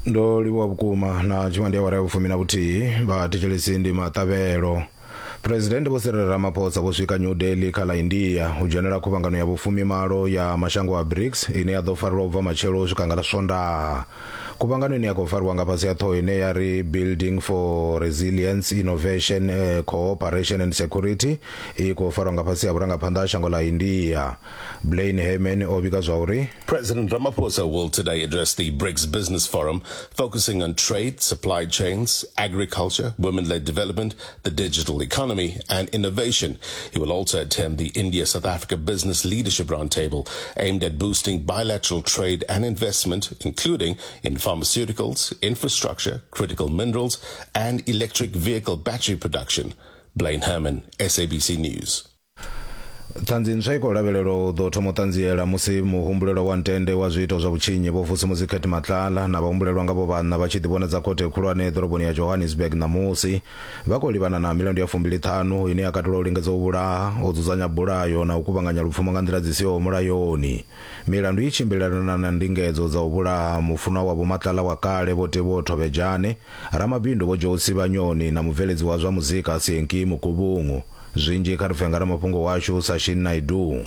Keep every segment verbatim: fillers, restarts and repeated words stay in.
Ndo livhuwa vhukuma na tshifhinga ndi awara ya vhufumi na vhuthihi vha thetshelesi ndi maṱavhelo. President Vho Cyril Ramaphosa vho swika New Delhi kha ḽa India u dzhenela khuvhangano ya vhufumimalo ya mashango a BRICS ine ya ḓo farelwa u bva matshelo u swika nga ḽa Swondaha. Khuvhangano ine ya khou fariwa nga fhasi ha ṱhoho ine ya ri Building for Resilience, Innovation, eh, Cooperation and Security i khou farwa nga fhasi ha vhurangaphanḓa ha shango ḽa India. Blaine Herman o vhiga zwa uri President Ramaphosa will today address the BRICS Business Forum, focusing on trade, supply chains, agriculture, women-led development, the digital economy, and innovation. He will also attend the India-South Africa Business Leadership Roundtable, aimed at boosting bilateral trade and investment, including in pharmaceuticals, infrastructure, critical minerals, and electric vehicle battery production. Blaine Herman, S A B C News. Ṱhanzi ntswa i khou lavhelelwa u ḓo thoma u ṱanziela musi muhumbulelwa wa ntende wa zwiito zwa vhutshinyi Vho Vusimuzi Cat Matlala na vhahumbulelwa nga vho vhanna vha tshi ḓivhonadza khothe khulwane ḓoroboni ya Johannesburg ṋamusi. Vha khou livhana na milandu ya fumbili ṱhanu ine ya katela u lingedza u vhulaha, u dzudzanya bulayo na u kuvhanganya lupfumo nga nḓila dzi siho mulayoni. Milandu i tshimbilelana na ndingedzo dza u vhulaha mufunwa wa Vho Matlala wa kale Vho Teboho Thobejane, ramabindu Vho Joe Sibanyoni na mubveledzi wa zwa muzika Senki Mukubungu. Zwinzhi kha ri pfe nga ramafhungo washu Sashin Naidu.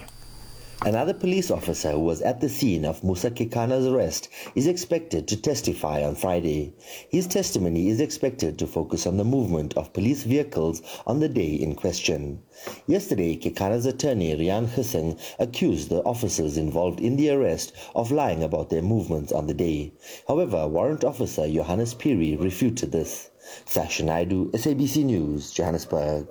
Another police officer who was at the scene of Musa Kekana's arrest is expected to testify on Friday. His testimony is expected to focus on the movement of police vehicles on the day in question. Yesterday, Kekana's attorney Rian Hussein accused the officers involved in the arrest of lying about their movements on the day. However, Warrant Officer Johannes Piri refuted this. Sasha Naidu, S A B C News, Johannesburg.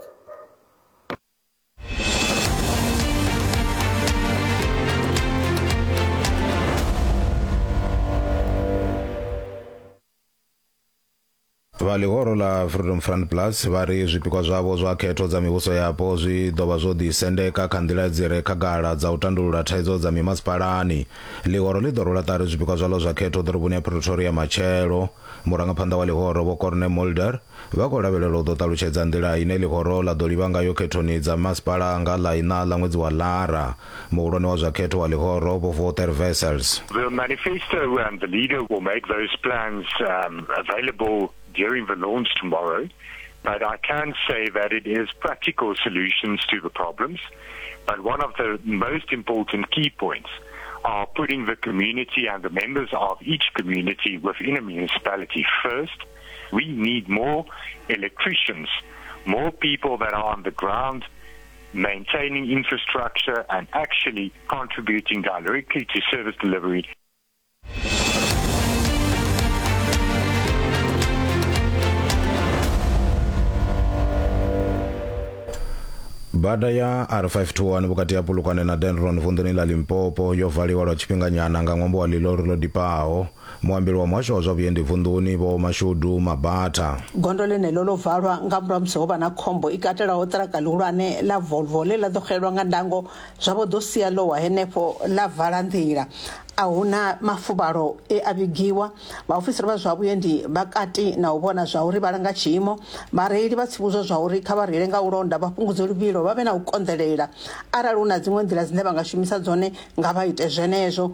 Vha ḽihoro ḽa Freedom Front Plus vha ri zwipikwa zwavho zwa khetho dza mivhuso yapo zwi ḓo vha zwo ḓisendeka kha nḓila dzi re khagala dza u tandulula thaidzo dza mimasipalani. Ḽihoro ḽi ḓo rwela ṱari zwipikwa zwaḽo zwa khetho ḓoroboni ya Pretoria matshelo. Murangaphanḓa wa ḽihoro Vho Corne Mulder vha khou lavhelelwa u ḓo ṱalutshedza nḓila ine ḽihoro ḽa ḓo livha ngayo khethoni dza masipala nga ḽa iṋa ḽa ṅwedzi wa Lara. Muhulwane wa zwa khetho wa ḽihoro Vho Wouter Wessels. The manifesto and the leader will make those plans um, available during the launch tomorrow, but I can say that it is practical solutions to the problems. But one of the most important key points are putting the community and the members of each community within a municipality first. We need more electricians, more people that are on the ground maintaining infrastructure and actually contributing directly to service delivery. Bada ya R five two one vhukati ha Polokwane na Dendron vunḓuni ḽa Limpopo yo valiwa lwa tshifhinganyana nga ṅwambo wa ḽilori ḽo dipaho. Muambeli wa muhasho wa zwa vhuendi vunḓuni Vho Mashudu Mabatha. Gondo ḽeneḽo ḽo valwa nga murahu musi ho vha na khombo i katelaho ṱiraka ḽihulwane ḽa Volvo ḽe ḽa ḓo xelelwa nga ndango zwa vho ḓo sia ḽo wa henefho ḽa vala nḓila. A huna mafuvhalo e a vhigiwa. Vhaofisiri vha zwa vhuendi vha kati na u vhona zwa uri vha langa tshiimo. Vhareili vha tsivhudzwa zwa uri kha vha reile nga u londa, vha fhungudze luvhilo, vha vhe na u konḓelela. Arali hu na dziṅwe nḓila dzine vha nga shumisa dzone nga vha ite zwenezwo.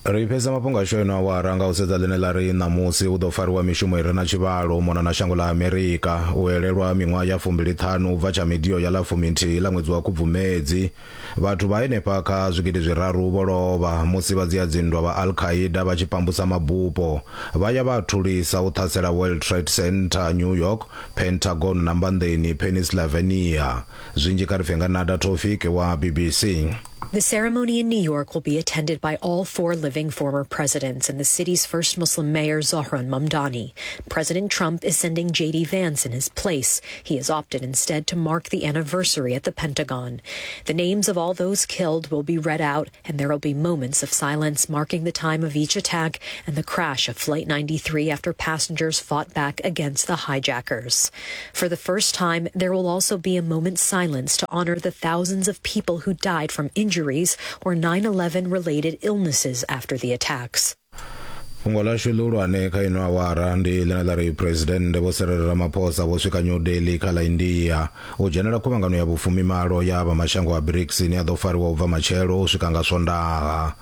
Ri fhedza mafhungo ashu eno awara nga u sedza ḽine ḽa ri ṋamusi hu ḓo fariwa mishumo i re na tshivhalo u mona na shango ḽa Amerika u elelwa miṅwaha ya fumbili ṱhanu u bva tsha midio ya ḽa fuminthihi ḽa ṅwedzi wa Khubvumedzi. Vhathu vha henefha kha zwigidi zwiraru vho lovha musi vha dzia dzinndwa vha Al-Qaeda vha tshi pambusa mabupo vha ya vha thulisa u ṱhasela World Trade Center New York, Pentagon na mbanḓeni Pennsylvania. Zwinzhi kha ri pfe nga Nada Tofik wa B B C. The ceremony in New York will be attended by all four living former presidents and the city's first Muslim mayor, Zohran Mamdani. President Trump is sending J D Vance in his place. He has opted instead to mark the anniversary at the Pentagon. The names of all those killed will be read out, and there will be moments of silence marking the time of each attack and the crash of Flight ninety-three after passengers fought back against the hijackers. For the first time, there will also be a moment's silence to honor the thousands of people who died from injuries or nine eleven related illnesses after the attacks. Fhungo ḽashu ḽihulwane kha ino awara ndi ḽine ḽa ri President Vho Cyril Ramaphosa vho swika New Delhi kha ḽa India u dzhenela khuvhangano ya vhufumimalo ya vha mashango a BRICS ine ya ḓo fariwa u bva matshelo u swika nga Swondaha.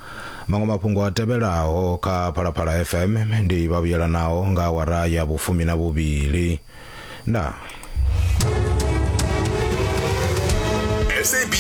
Maṅwe mafhungo a tevhelaho kha Phalaphala F M ndi vha vhuyelanaho nga awara ya vhufumi na vhuvhili. Ndaa. S A B